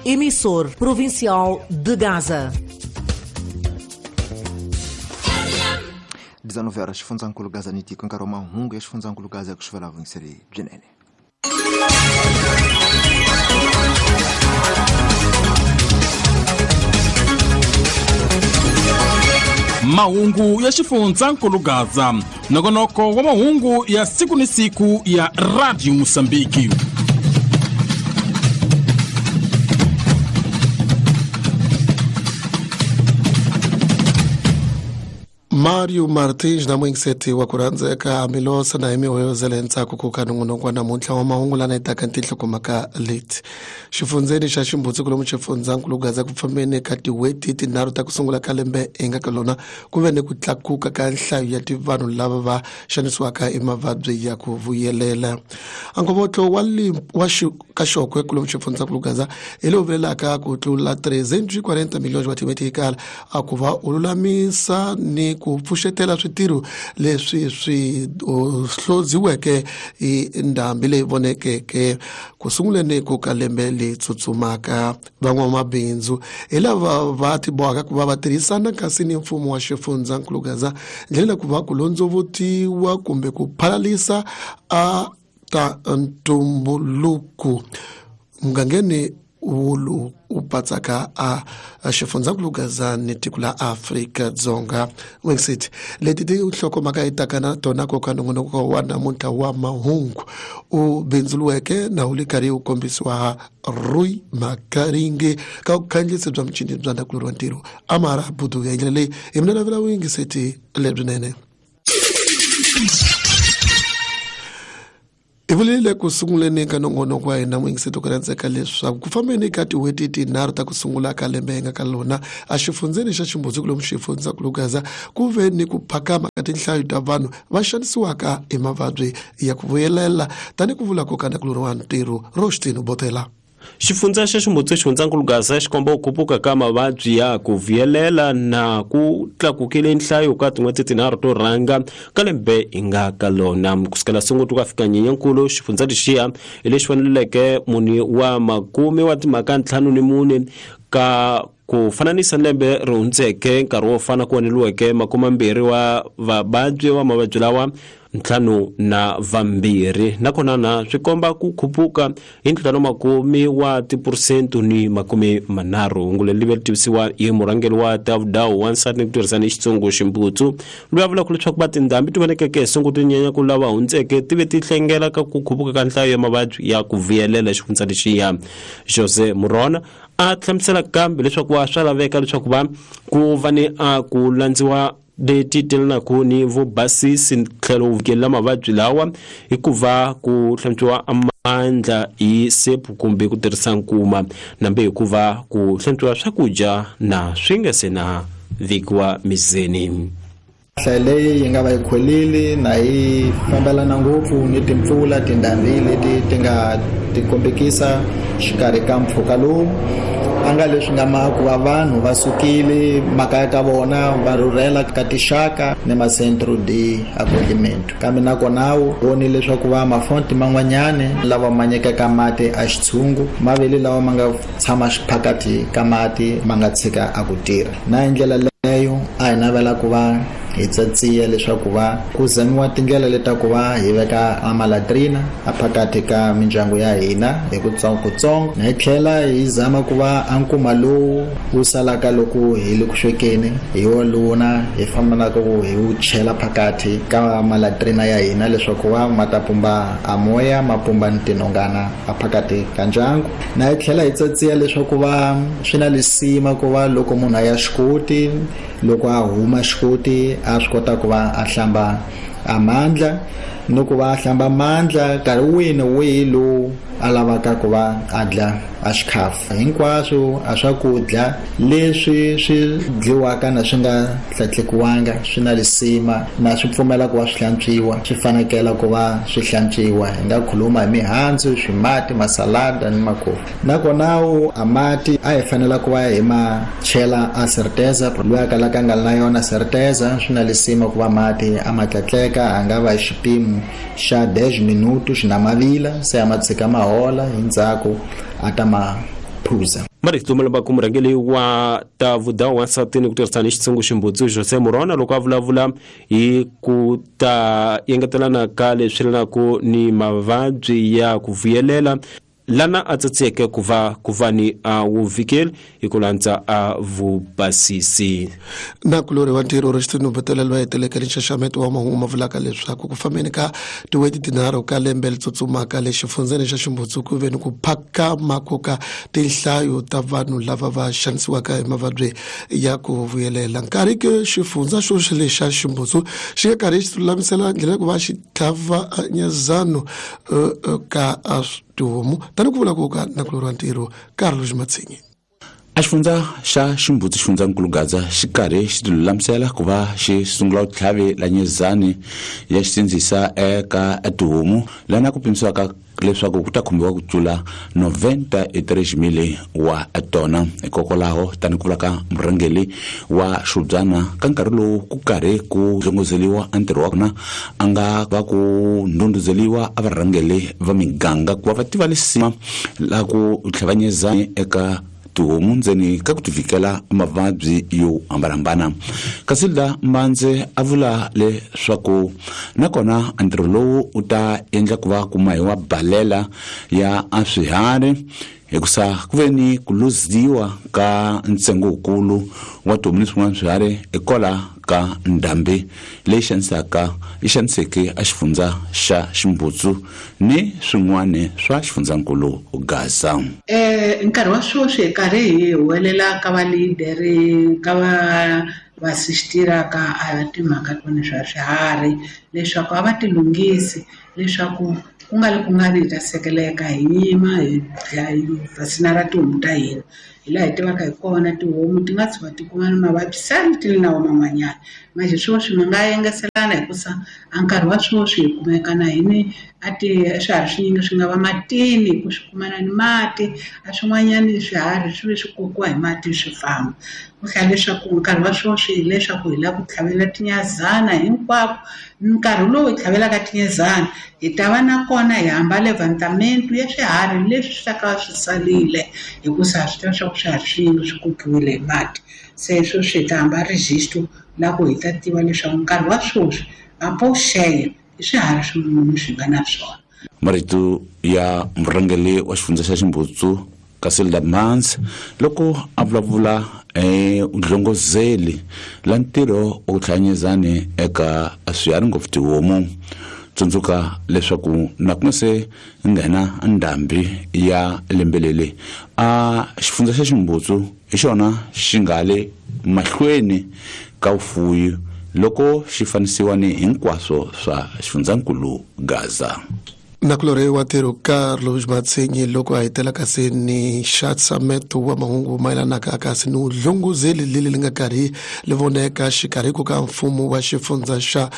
Emissor provincial de Gaza. 19 horas xifundzankulu Gaza ni tiko nkarhi wa mahungu ya xifundzankulu Gaza ya ku xivela vuyingiseri byinene. Mahungu ya xifundzankulu Gaza, nongonoko wa mahungu ya siku ni siku ya Radio Mosambiki. Mario Martins na muingiseti wa ku rhandzeka Milosa na himihoyozela ntsako ku ka nongonoko wa namuntlha wa mahungu lana etaka tinhlokomhaka leti. Xifundzeni xa Ximbutsi kulomu xifundzankulu Gaza ku fambeni ka tin'hweti tinharhu ta ku sungula ka lembe hi nga ka lona ku ve ni ku tlakuka ka nhlayo ya tivanhu lava va xanisiwaka hi mavabyi ya ku vuyelela. Ankovotlo wa wa kaxokwe kulomu xifundzankulu Gaza hi lowu vilelaka ku tlula 340 miliyoni wa timetikala a ku va u lulamisa ni ku pfuxetela switirho leswi swi hloziweke hi ndhambi leyi vonekeke ku sunguleni ku ka lembe leyi tsutsumaka. Van'wamabindzu hi lava va tibohaka ku va va tirhisana kasi ni mfumo wa xifundzankulu Gaza ndlela ku va ku londzovutiwa kumbe ku phalalisa a ta ntumbuluko mugangeni wulu u patsaka a xifundzankulu Gaza ni tiko la Afrika-Dzonga. Wexit leti ti nhlokomhaka yi taka na tona koka nongonoko wa namuntlha wa mahungu u bindzuluweke na wu le karhi wu kombisiwa Rui Makaringe ka vukhandziyisi bya michini bya ndakulori wa ntirho Amara Budu. Ya ndlela leyi hi mina lavela vuyingiseti lebyinene. Hi vulile ku sunguleni ka nongonoko wa hina muyingiseti ku rhandzeka leswaku ku fambeni ka tin'hweti tinharhu ta ku sungula ka lembe hi nga ka lona exifundzeni xa Ximbudzi kulomu xifundzankulu Gaza ku ve ni ku phakama ka tinhlayo ta vanhu va xanisiwaka hi mavabyi ya ku vuyelela tani ku vula ko ka ndakulori wa ntirho Roshtino Botela. Xifundza xa Ximbutsi xifundzankulu Gaza xi komba ku khuphuka ka mavabyi ya ku vuyelela na ku tlakukile nhlayo ka tin'hweti tinharhu to rhanga ka lembe hi nga ka lona. Kusukela Sunguti ku ya fika Nyenyankulu, xifundza lexiya hi lexi faneleke mune wa makume wa timhaka ntlhanu ni mune ka ku fananisa lembe ri hundzeke nkarhi wo fana ku voneliweke makumambirhi wa vavabyi wa mavabyi lawa ntlhanu na vambirhi, nakona na swi komba ku khuphuka hi ntlhanu makume wa tiphurusente ni makume manharhu. Hungu leri li ve ri tivisiwa hi murhangeri wa Tavudau wansati ni ku tirhisana hi Xitsongo Ximbutsu, loyi a vulaka leswaku va tindhambi ti vonekeke hi Sunguti Nyenyankulu lava hundzeke ti ve ti hlengela ka ku khuphuka ka nhlayo ya mavabyi ya ku vuyelela xifundza lexiya. Jose Murona a hlamusela kambe leswaku wa swa laveka leswaku va ku va ni a ku landziwa leti telanaku ni vubasisi tlhelo wu vikelela mavabyi lawa hikuva ku hlantswiwa mandla hi sepu kumbe ku tirhisa nkuma, nambe hikuva ku hlantswiwa swakudya na swi nga se na vekiwa mizeni. Nhlayo leyi yi nga va yi kholile na yi fambelana ngopfu ni timpfula tindhambi leti ti nga ti kombekisa xikarhi ka mpfhuka lowu a nga leswi nga ma ku va vanhu va sukile makaya ka vona va rhurhela ka tixaka ni macentro de acolhimento, kambe nakona wu voni leswaku va mafonti man'wanyani lawa ma nyikaka mati a xitshungu mavele lawa ma nga tshama xiphakati ka mati ma nga tshika a ku tirha. Na hi ndlela leyo a hi navela ku va hi tsatsiya leswaku va ku zamiwa tindlela leta ku va hi veka a malatrina a phakati ka mindyangu ya hina hi kutsongokutsongo, na hi tlhela hi zama ku va a nkuma lowu wu salaka loko hi le ku swekeni hi woluna hi fambelaka ku hi wu chela phakati ka malatrina ya hina leswaku va ma ta pumba a moya ma pumba ni tinhongana a phakati ka ndyangu. Na hi tlhela hi tsatsiya leswaku va swi na lisima ku va loko munhu a ya xikoti loko a huma xikoti a swi kota ku va a hlamba a mandla ni ku va a hlamba mandla nkarhi wihi ni wihi lowu a lavaka ku va a dla a xikhafu. Hinkwaswo a swakudya leswi swi dliwaka na swi nga hlatlekiwanga swi na lisima na swi pfumela ku va swi hlantswiwa, swi fanekela ku va swi hlantswiwa. Hi nga khuluma hi mihandzu, swimati, masalada ni makofi. Nakona a mati a hi fanela ku va hi ma chela a certeza, loyi a kalaka a nga na yona certeza swi na lisima ku va mati a ma tlatleka, a nga va hi xipimo xa 10 minutos na mavila se a ma tshika ma hola, hi ndzhaku a ta ma phuza. Marito malamba ku murhangeri wa ta vudawu wansati ni ku tirhisana xitshungu ximbudzu Jose Morona loko a vulavula hi ku ta engetelana ka leswi yelanaka ni mavabyi ya ku vuyelela lana a tsatseke ku va ni a wuvikeli hi ku landza a vubasisi. Na kulori wa ntirho ri xitinumbetelo lwa heteleke ni nxaxameto wa mahungu ma vulaka leswaku ku fambeni ka tin'hweti tinharhu ka lembe li tsutsumaka le xifundzeni xa Ximbudzu ku ve ni ku phakama ku ka tinhlayo ta vanhu lava va xanisiwaka hi mavabyi ya ku vuyelela. Nkarhi ke xifundza xo lexa Ximbudzu xi nga karhi xi lulamisela ndlela ya ku va xi tlhava nyezano ka tihomu tani ku vula ku ka nakulori wa ntirho Carlos Matsinyi. A xifundza xa Ximbudzu xifundzankulu Gaza xi karhi xi tilulamisela ku va xi sungula ku tlhavi la nyezani ya xisindzisa eka tihomu lana ku pimisiwaka leswaku ku ta khumbiwa ku tlula 93,000 wa tona. Hikokwalaho tani ku vula ka murhangeri wa Xubyana ka nkarhi lowu ku karhi ku dlongozeliwa a ntirho wa kona a nga va ku ndhundhuzeliwa a varhangeri va miganga ku va va tiva lisima la ku tlhavanyezani eka tihomu ndzeni ka ku tivikela mavabyi yo hambanahambana. Kasilda Mbandze a vula leswaku nakona ntirho lowu u ta endla ku va kuma hi wa balela ya a swiharhi hikusa ku ve ni ku luziwa ka ntsengo wukulu wa tihomu ni swin'wana swiharhi hikwalaho ka ndhambi leyi xaniseke a xifundza xa Ximbudzu ni swin'wana swa xifundzankulu Gaza. Nkarhi wa sweswi hi karhi hi huwelela ka valideri ka va sistira ka timhaka tona swa swiharhi leswaku a va tilunghisi leswaku ku nga ri hi ta sekeleka hi nyima hi vasinara tihomu ta hina. Hi laha hi tivaka hi kona tihomu ti nga tshuka ti kuma ni mavabyi sani ti ri na wona man'wanyana. Manje sweswi mi nga engeselana hikusa a nkarhi wa sweswi hi kumeka na hini a ti swiharhi swinyingi swi nga va matini ku swi kumana ni mati a swin'wanyani swiharhi swi ve swi kokiwa hi mati swi famba. Ku hlaya leswaku nkarhi wa sweswi hileswaku hi lava ku tlhavela tinyazana hinkwako. Nkarhi lowu hi tlhavelaka tinyazana hi ta va na kona hi hamba levantamento ya swiharhi leswi swi ta ka swi salile hikusa ha swi tiva swa ku swiharhi swinyingi swi kokiwile hi mati. Se sweswi hi ta hamba registro la ku hi ta tiva leswaku nkarhi wa sweswi apoxeya i swiharhi swin'wana swi nga na swona. Marito ya murhangeri wa xifundza xa Ximbudzu Kasilda Mans loko a vulavula dlongozeli la ntirho wa ku tlhanyezani eka swiharhi ngopfu tihomu. Tsundzuka leswaku na ku nga se nghena ndhambi ya lembe leri a xifundza xa Ximbudzu hi xona xi nga le mahlweni ka vufuwi loko xi fanisiwa ni hinkwaswo swa xifundzankulu Gaza. Nakulori wa ntirho Carlos Matsinyi loko a hetela kasi ni nxaxameto wa mahungu mayelanaka kasi ni dlongozeli leli li nga karhi li voneka xikarhi ku ka mfumo wa xifundza xa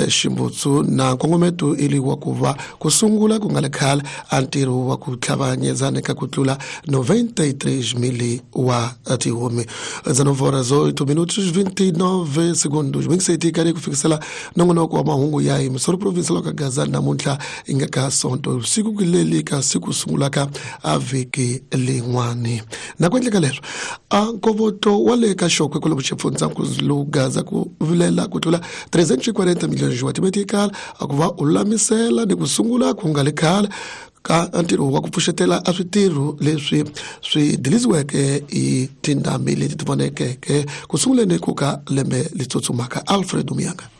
Ximbudzu na nkongometo ili wa ku va ku sungula ku nga le khale a ntirho wa ku tlhavanyezana ka ku tlula 93,000 wa tihomu. 19 horas 8 minutos 29 segundos. Mingiseti karhi ku fikisela nongonoko wa mahungu ya hi Missouri Provincial ka Gaza namuntlha i nga ka sonto siku kuleli ka siku sungulaka a vhiki lin'wani. Na ku endleka leswo a nkovoto wa le ka Xokwe kwalomu xifundzankulu Gaza ku vilela ku tlula 340 miliyoni wa timetikala a ku va u lulamisela ni ku sungula ku nga le khale ka ntirho wa ku pfuxetela a switirho leswi swi dilisiweke hi tindhambi leti ti vonekeke ku sunguleni ku ka lembe li tsutsumaka. Alfred Muyanga.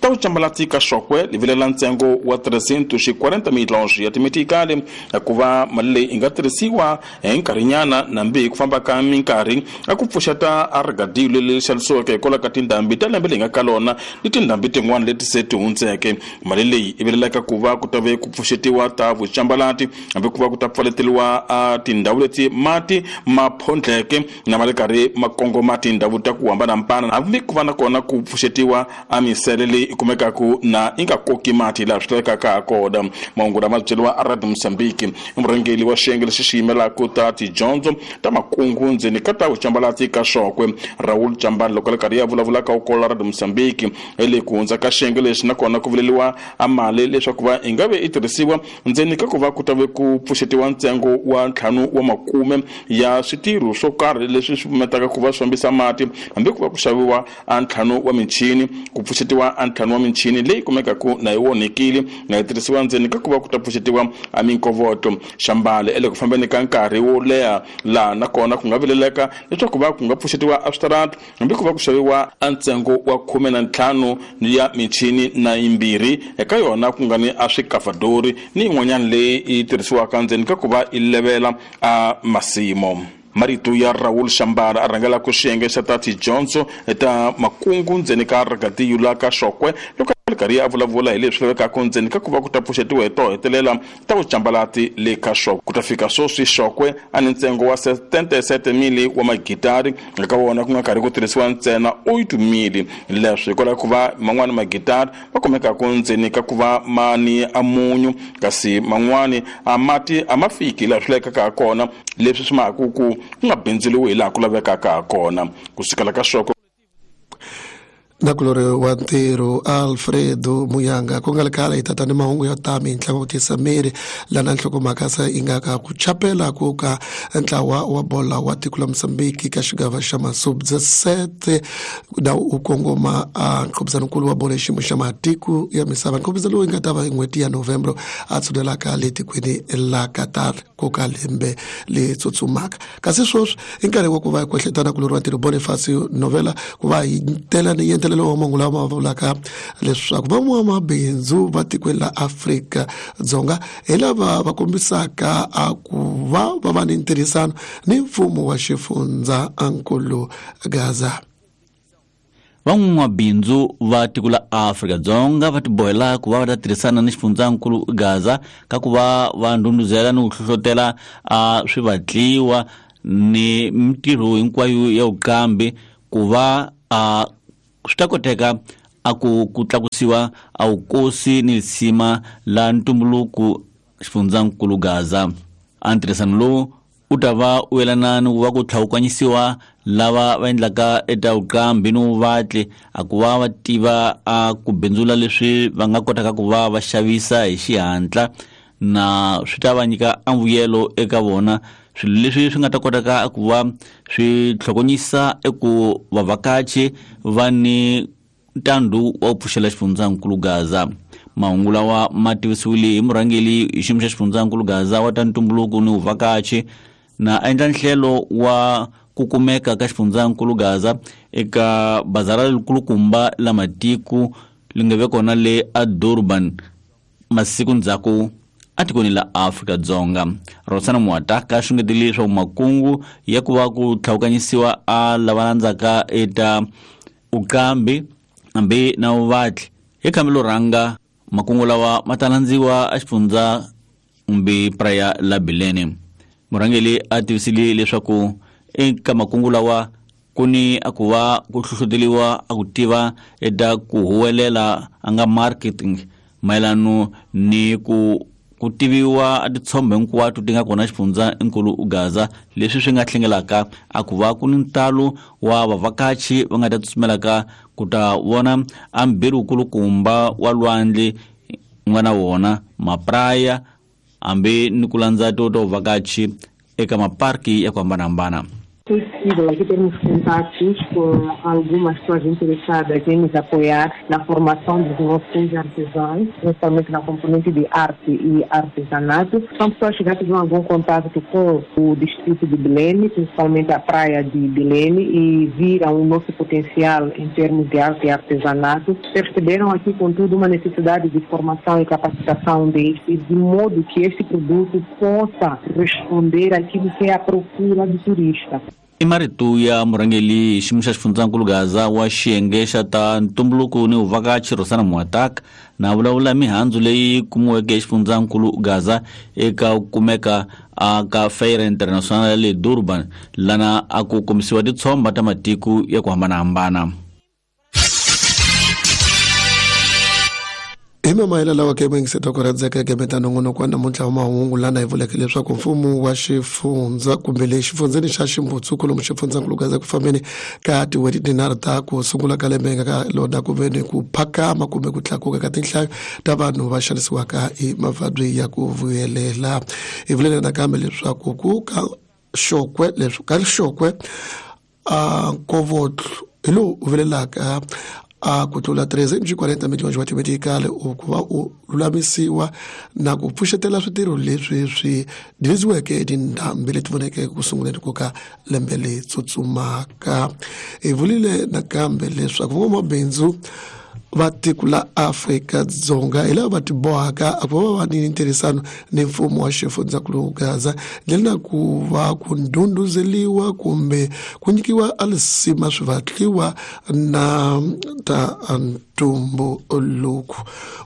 Ta vucambalati ka Xokwe li vilela ntsengo wa 340 milhões ya timetikali ku va mali leyi yi nga tirhisiwa hi nkarhinyana nambi hi ku famba ka minkarhi a ku pfuxeta a rigadilo leri xavisiweke hikwalaho ka tindhambi ta lembe leyi nga ka lona ni tindhambi tin'wana leti se ti hundzeke. Mali leyi yi vilelaka ku va ku ta ve ku pfuxetiwa ta vucambalati hambi ku va ku ta pfaleteliwa a tindhawu leti mati ma phondleke na ma le karhi ma kongoma tindhawu ta ku hambanahambana hambi ku va na kona ku pfuxetiwa a misele leyi leyi kumekaka na yi nga koki mati laha swi lavekaka ha kona. Mahungu lama byeriwa a Radio Mozambique i murhangeri wa xiyenge lexi xi yimelaka ta tidyondzo ta makungu ndzeni ka ta vucambalati ka Xokwe Raul Chambani loko le karhi ya vulavula ka ukola Radio Mozambique le ku hundza ka xiyenge lexi nakona ku vuleliwa a mali leswaku va yi nga ve yi tirhisiwa ndzeni ka ku va ku ta ve ku pfuxetiwa ntsengo wa 5 wa makume ya switirho swo karhi leswi swi pfumetaka ku va swi fambisa mati hambi ku va ku xaviwa a 5 wa michini ku pfuxetiwa a 5 wa michini leyi kumekaka na yi onhekile na yi tirhisiwa ndzeni ka ku va ku ta pfuxetiwa a minkovoto. Xambale ele ku fambeni ka nkarhi wo leha laha nakona ku nga vileleka leswaku va ku nga pfuxetiwa a switarata hambi ku va ku xaviwa a ntsengo wa 15 ya michini na yimbirhi eka yona ku nga ni a swikafadori ni yin'wanyana leyi yi tirhisiwaka ndzeni ka ku va yi levela a masimo. Marito ya Raul Shambara a rhangelaka xiyenge xa ta tidyondzo ta makungu ndzeni ka Ragadiyu la ka Xokwe loko a ri karhi a vulavula hi leswi lavekaka ndzeni ka ku va ku ta pfuxetiwa hi to hetelela ta vucambalati le ka Xokwe. Ku ta fika sweswi Xokwe a ni ntsengo wa 77,000 wa magitari eka wona ku nga karhi ku tirhisiwa ntsena 8,000 leswi hikwalaho ku va man'wani magitari va kumekaka ndzeni ka ku va ma ni a munyu kasi man'wani a mati a ma fiki laha swi lavekaka ha kona leswi swi mahaka ku ku nga bindzuriwi hi laha ku lavekaka ha kona. Ku sukela ka Xokwe nakulori wa ntirho Alfredo Muyanga ku nga ri khale hi tata ni mahungu yo ta mintlangu ku tisa miri lana nhlokomhaka se yi nga ka ku chapela ku ka ntlawa wa bola wa tiko la Mozambique ka xigava xa masubsete na u kongoma a nkhubizanonkulu wa bola xiyimo xa matiko ya misava nkhubizo lowu yi nga ta va hi n'hweti ya Novembro a tshunelaka le tikweni la Qatar ku ka lembe le tsutsumaka. Kasi sweswi i nkarhi wa ku va hi kwehletana kulori wa ntirho Bonifacio Novela ku va hi tela ni yentelelo wa mahungu lama vulaka leswaku van'wamabindzu va tikweni la Afrika Dzonga hi lava va kombisaka a ku va va va ni ntirhisano ni mfumo wa xifundza nkulu Gaza. Van'wamabindzu va tiko la Afrika Dzonga va tibohela ku va va ta tirhisana ni xifundzankulu Gaza ka ku va va ndhundhuzela ni ku hlohlotela a swivatliwa ni mintirho hinkwayo ya vuqambi ku va a swi ta koteka a ku tlakusiwa a vukosi ni lisima la ntumbuluko xifundzankulu Gaza. A ntirhisano lowu u ta va u yelana ni ku va ku tlhawukanyisiwa lava va endlaka eta vuqambi ni vuvatli a ku va va tiva a ku bindzula leswi va nga kotaka ku va va xavisa hi xihatla na swi ta va nyika a mbuyelo eka vona swilo leswi swi nga ta kotaka ku va swi tlhokonyisa eku vavhakachi va ni ntandu wa ku pfuxela xifundzankulu Gaza. Mahungu lawa ma tivisiwile hi murhangeri hi xiyimo xa xifundzankulu Gaza wa ta ntumbuluko ni vuvhakachi na endla nhlelo wa ku kumeka ka xifundzankulu Gaza eka bazara lerikulukumba la matiko li nga ve kona le a Durban masiku ndzhaku atikweni la Afrika Dzonga. Rosana Muataka xungetile leswaku makungu ya ku va ku tlhawukanyisiwa a lava landzaka eta uqambi hambi na vuvatli hi khambelo rhanga makungu lawa ma ta landziwa a xifundza kumbe praya la Bilene. Murhangeri a tivisile leswaku eka makungu lawa ku ni a ku va ku hlohloteliwa a ku tiva eka ku huwelela a nga marketing mayelano ni ku tiviwa a titshombo hinkwato ti nga kona xifundza nkulu Gaza leswi swi nga hlengelaka a ku va ku ni ntalo wa vavhakachi va nga ta tsutsumelaka ku ta vona a mbirhi wukulukumba wa lwandle nga na wona mapraya hambi ni ku landza to ta vuvhakachi eka maparki ya ku hambanahambana. Possível aqui termos contatos com algumas pessoas interessadas em nos apoiar na formação dos nossos artesãos, principalmente na componente de arte e artesanato. São pessoas que já tiveram algum contato com o distrito de Bilene, principalmente a praia de Bilene, e viram o nosso potencial em termos de arte e artesanato. Perceberam aqui, contudo, uma necessidade de formação e capacitação deste, de modo que este produto possa responder àquilo que é a procura do turista. I marito ya murhangeri xiyimo xa xifundzankulu Gaza wa xiyenge xa ta ntumbuluko ni vuvhakachi Rosana Muataka na vulavula mihandzu leyi kumiweke xifundzankulu Gaza eka ku kumeka ka Feira International ya le Durban lana a ku kombisiwa titshomba ta matiko ya ku hambanahambana. Hi mamayela lawa ke yingiseta ku rhandzeka eka nongonoko wa namuntlha wa mahungu lana hi vuleke leswaku mfumo wa xifundza kumbe le xifundzeni xa Ximbutsu lomu xifundzankulu Gaza ku fambeni ka tin'hweti tinharhu ta ku sungula ka lembe nga ka lona ku ve ni ku phakama kumbe ku tlakuka ka tinhlayo ta vanhu va xanisiwaka hi mavabyi ya ku vuyelela. Hi vulele nakambe leswaku ku ka xokwe leswi ka xokwe a nkovotlo hi lowu u vilelaka a ku tlula 340 miliyoni wa timedikali ku va u lulamisiwa na ku pfuxetela switirho leswi swi dilisiweke tindhambi leti voneke ku sunguleni ku ka lembe leyi tsutsumaka. Hi vulile nakambe leswaku van'wamabindzu va tiko la Afrika-Dzonga hi lava va tibohaka a ku va va ni ntirhisano ni mfumo wa xifundzankulu Gaza ndlela na ku va ku ndhundhuzeliwa kumbe ku nyikiwa alisima swivatliwa na ta ntumbuluko.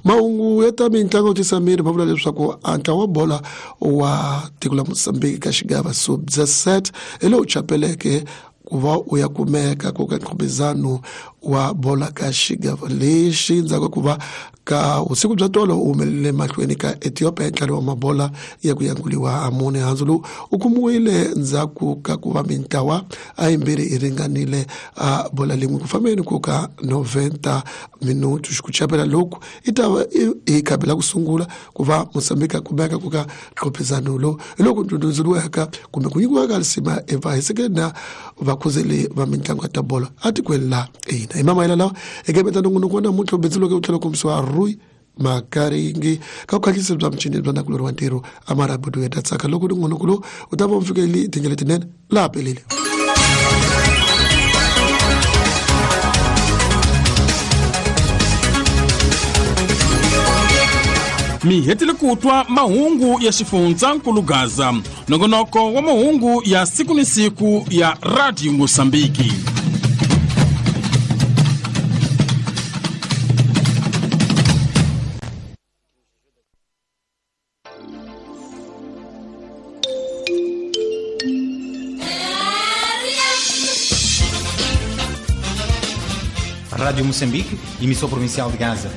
Mahungu ya ta mitlangu tisa miri va vula leswaku ntlawa wa bola wa tiko la Mozambique ka xigava sub-17 hi lowu chapeleke ku va u ya kumeka ku ka nkhumizano wa bola ka xigava lexi ndzhaku ku va ka vusiku bya tolo u humelele mahlweni ka Ethiopia hi ntlhanu wa mabola ya ku yanguliwa a mune. Handzu lowu u kumiwile ndzhaku ka ku va mintlawa a yimbirhi yi ringanile a bola lin'we ku fambeni ku ka 90 minutu. Ku chapela loku i ta va hi khabi la ku sungula ku va Mozambique a kumeka ku ka nkhumizano lowu hi loko ndhundhuzeliwaka kumbe ku nyikiwaka lisima eva hisekeni na vakhuzeli va mitlangu ya ta bolo atikweni la hina. Hi mamayela lawa eka meta nongonoko wa namuntlha u bindzuleke u tlhela kombisiwa Rui Makaringi ka vukhahlisi bya michini bya nakulori wa ntirho amarabudu ya ta tsaka loko nongonoko lowu u ta va u fikeli tindlela letinene laha pelele. Mi hetile ku twa mahungu ya xifundzankulu Gaza, nongonoko wa mahungu ya siku ni siku ya Radio Mozambique. Rádio Moçambique, emissora provincial de Gaza.